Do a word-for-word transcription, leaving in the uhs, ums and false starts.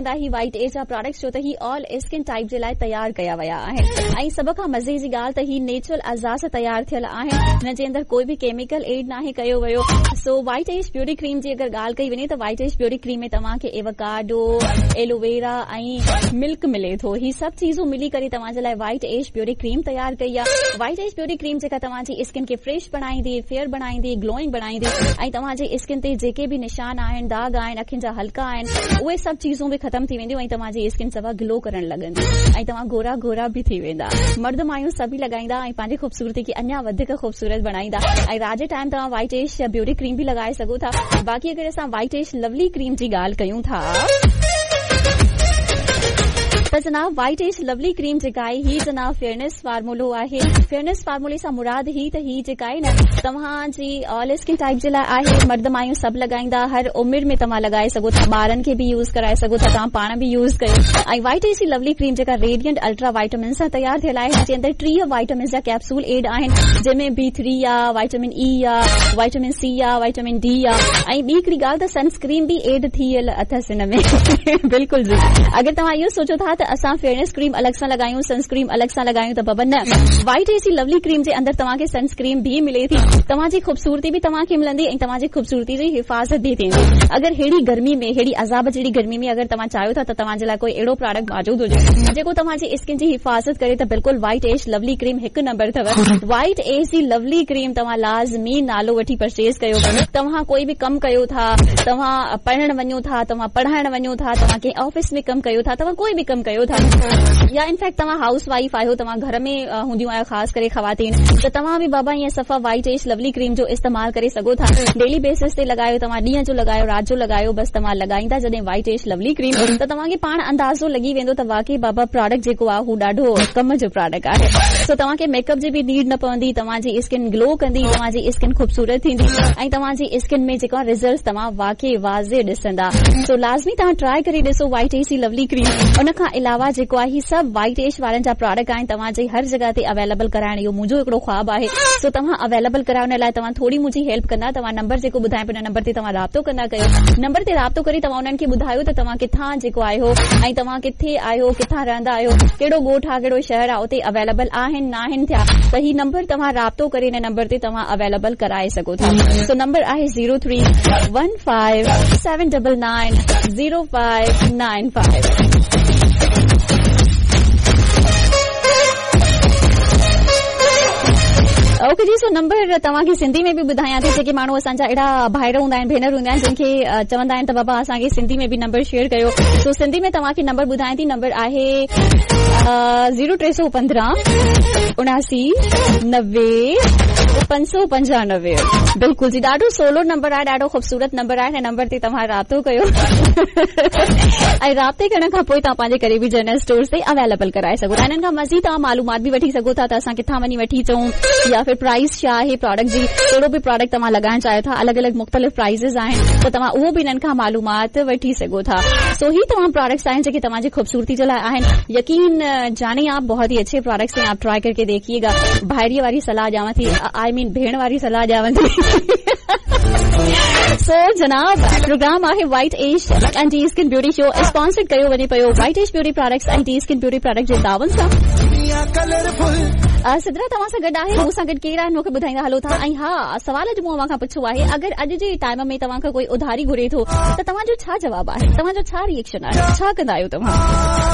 ڪندا هي white age جا products, ڇو ته هي آل اسڪن ٽائيپ جي لاءِ تيار ڪيا ويا آهن ۽ سڀ کان مزي جي ڳالهه ته هي نيچرل اعضاء سان تيار ٿيل آهن، هن جي اندر ڪوئي به ڪيميڪل ايڊ ناهي ڪيو ويو. سو وائيٽ ايج بيوٽي ڪريم جي اگر ڳالهه ڪئي وڃي ته وائيٽ ايج بيوٽي ڪريم ۾ توهان کي ايوڪاڊو، ايلوويرا ۽ ملڪ ملي ٿو. هي سڀ چيزون ملي ڪري توهان جي لاءِ وائيٽ ايج بيوٽي ڪريم تيار ڪئي آهي. وائيٽ ايج بيوٽي ڪريم جيڪا توهان جي اسڪن کي فريش بڻائيندي، فيئر بڻائيندي، گلوئنگ بڻائيندي ۽ توهان جي اسڪن تي جيڪي به نشان آهن، داغ آهن، اکين جا حلقا آهن، اهي سڀ چيزون به ختم ٿي وينديون ۽ توهان جي اسڪن صفا گلو ڪرڻ لڳندي ۽ توهان گورا گورا به ٿي ويندا. مرد مايون سڀئي لڳائيندا ۽ پنهنجي خوبصورتي کي اڃا وڌيڪ خوبصورت بڻائيندا ۽ رات جي ٽائيم توهان وائيٽ ايش بيوٽي ڪريم به لڳائي سگهو ٿا. باقي اگر اسان وائيٽ ايش لولي ڪريم جي ڳالهه ڪيون ٿا ته جناب وائيٽ ايش لولي ڪريم جيڪا آهي هي جناب فيئرنيس فارمولو آهي. فيئرنيس فارمولي سان مراد هي ته هي جيڪا آهي نه توهان جي آل اسڪن ٽائيپ جي لاءِ آهي. مرد مايون سڀ لڳائيندا، هر عمر ۾ توهان لڳائي سگهو ٿا، ٻارن کي به يوز ڪرائي سگهو ٿا، توهان پاڻ به يوز ڪيو. ۽ وائيٽ ايش جي لولي ڪريم جيڪا ريڊيئنٽ الٽرا وائٽامن سان تيار ٿيل آهي، هن جي اندر ٽيهه وائٽامنس جا ڪيپسول ايڊ آهن، جنهن ۾ بي ٿري آهي، وائٽامن اي آهي، وائٽامن سي آهي، وائٽامن ڊي آهي ۽ ٻي هڪڙي ڳالهه ته سن اسڪرين به ايڊ ٿيل اٿس هن ۾. بلڪل جي، اگر توهان اهو سوچو ٿا ته اسان فيئرنيس ڪريم الڳ سان لڳايون، سن اسڪرين الڳ سان لڳايون، ته بابا نه، وائيٽ ايج جي لولي ڪريم جي اندر توهان کي سن اسڪرين به ملي ٿي، توهان جي خوبصورتي به توهان کي ملندي ۽ توهان جي خوبصورتي جي حفاظت به ٿيندي. اگر ههڙي گرمي ۾، ههڙي عذاب جهڙي گرمي ۾ اگر توهان چاهيو ٿا ته توهان جي لاءِ ڪوئي اهڙو پراڊڪٽ موجود هجي جيڪو توهان جي اسڪن جي حفاظت ڪري ته بلڪل وائيٽ ايج لولي ڪريم هڪ نمبر اٿو. وائيٽ ايج جي لولي ڪريم توهان لازمي نالو وٺي پرچيز ڪيو. توهان ڪوئي به ڪم ڪيو ٿا، توهان پڙهڻ وڃو ٿا، توهان پڙهائڻ وڃو ٿا، توهان ڪنهن آفيس ۾ ڪم ڪيو ٿا، توهان ڪوئي به ڪم ڪيو ٿا، يا انفيڪٽ توهان هائوس وائيف آهيو، توهان گهر ۾ هونديون آهيو، خاص ڪري خواتين، ته توهان به بابا ائين صفا وائيٽ ايج لولي ڪريم جو استعمال ڪري سگهو ٿا. ڊيلي بيسس تي لڳايو، توهان ڏينهن جو لڳايو، رات جو لڳايو، بس توهان لڳائيندا جڏهن وائيٽ ايج لولي ڪريم ته توهان کي پاڻ اندازو لڳي ويندو ته واقعي بابا پراڊڪٽ جيڪو آهي هو ڏاڍو ڪم جو پراڊڪٽ آهي. سو توهان کي ميڪ اپ جي به نيڊ نه پوندي، توهان جي اسڪن گلو ڪندي، توهان جي اسڪن خوبصورت ٿيندي ۽ توهان جي اسڪن ۾ جيڪو رزلٽس توهان واقعي واضح ڏسندا. سو لازمي توهان ٽرائي ڪري ڏسو وائيٽ ايج جي لولي ڪريم. ان کان علاوه جيڪو آهي هي سڀ وائيٽ ايج وارن جا پراڊڪٽ آهن، توهان جي هر جڳهه تي اويليبل ڪرائڻ اهو منهنجو هڪڙو خواب آهي. سو توهان اويليبل ڪرايو، ان لاءِ توهان ٿوري منهنجي هيلپ ڪندا. توهان نمبر جيڪو ٻڌايان پيو ان نمبر تي توهان رابطو ڪندا ڪيو. نمبر تي رابطو ڪري توهان انهن کي ٻڌايو ته توهان ڪٿان جيڪو آهيو ۽ توهان ڪٿي آهيو، ڪٿان رهندا آهيو، ڪهڙو ڳوٺ آهي، ڪهڙو شهر آهي، اتي اويليبل آهن ناهن ٿيا ته هي نمبر توهان رابطو ڪري ان نمبر تي توهان اويليبل ڪرائي سگهو ٿا. سو نمبر آهي zero three one five seven double nine zero five nine five. Okay جي، سو نمبر توهان کي سنڌي ۾ به ٻڌايان ٿي. جيڪي ماڻهو اسان جا اهڙا ڀائر هوندا آهن، ڀينر هوندا آهن، جن کي چوندا آهن ته بابا اسان کي سنڌي ۾ به نمبر شيئر ڪيو، سو سنڌي ۾ توهان کي نمبر ٻڌايان ٿي. نمبر آهي زيرو ٽي سؤ پندرهن اڻاسي نوي پنج سؤ پنجانوي. بلڪل جي، ڏاڍو سولو نمبر آهي، ڏاڍو خوبصورت نمبر آهي. هن نمبر تي توهان رابطو ڪيو ۽ رابطي ڪرڻ کان پوءِ توهان پنهنجي قريبي جنرل اسٽورز تي اويليبل ڪرائي سگهو ٿا. هنن کان مزيد توهان معلومات به وٺي سگهو ٿا ته اسان ڪٿان وڃي وٺي اچون يا ڦر پرائيس ڇا آهي پراڊڪٽ جي، ڪهڙو به پراڊڪٽ توهان لڳائڻ چاهيو ٿا، الڳ الڳ مختلف پرائيزز آهن ته توهان اهو به هنن کان معلومات وٺي سگهو ٿا. سو هي تمام پراڊڪٽس آهن جيڪي توهان جي خوبصورتي جي لاءِ آهن. يقين جاني آپ بهت ئي اڇي پراڊڪٽس آهن، آپ ٽرائي ڪرڪي ديکيئيگا. ڀائريءَ واري صلاح ڏيانو ٿي، I مين ڀيڻ واري صلاح ڏيانو ٿي. سو جناب پروگرام آهي white ash and D skin beauty show, sponsored ڪيو وڃي پيو white ash beauty products ۽ D skin beauty product جي تعاون سان. سدرا توهان سان گڏ آهي، مون سان گڏ ڪير آهن مون کي ٻڌائيندا هلو ٿا. ۽ ها، سوال اڄ مون اوهان کان پڇيو آهي، اگر اڄ جي ٽائيم ۾ توهان کان ڪوئي اڌاري گهري ٿو ته توهان جو ڇا جواب آهي، توهان جو ڇا ري ايڪشن آهي، ڇا ڪندا آهيو توهان؟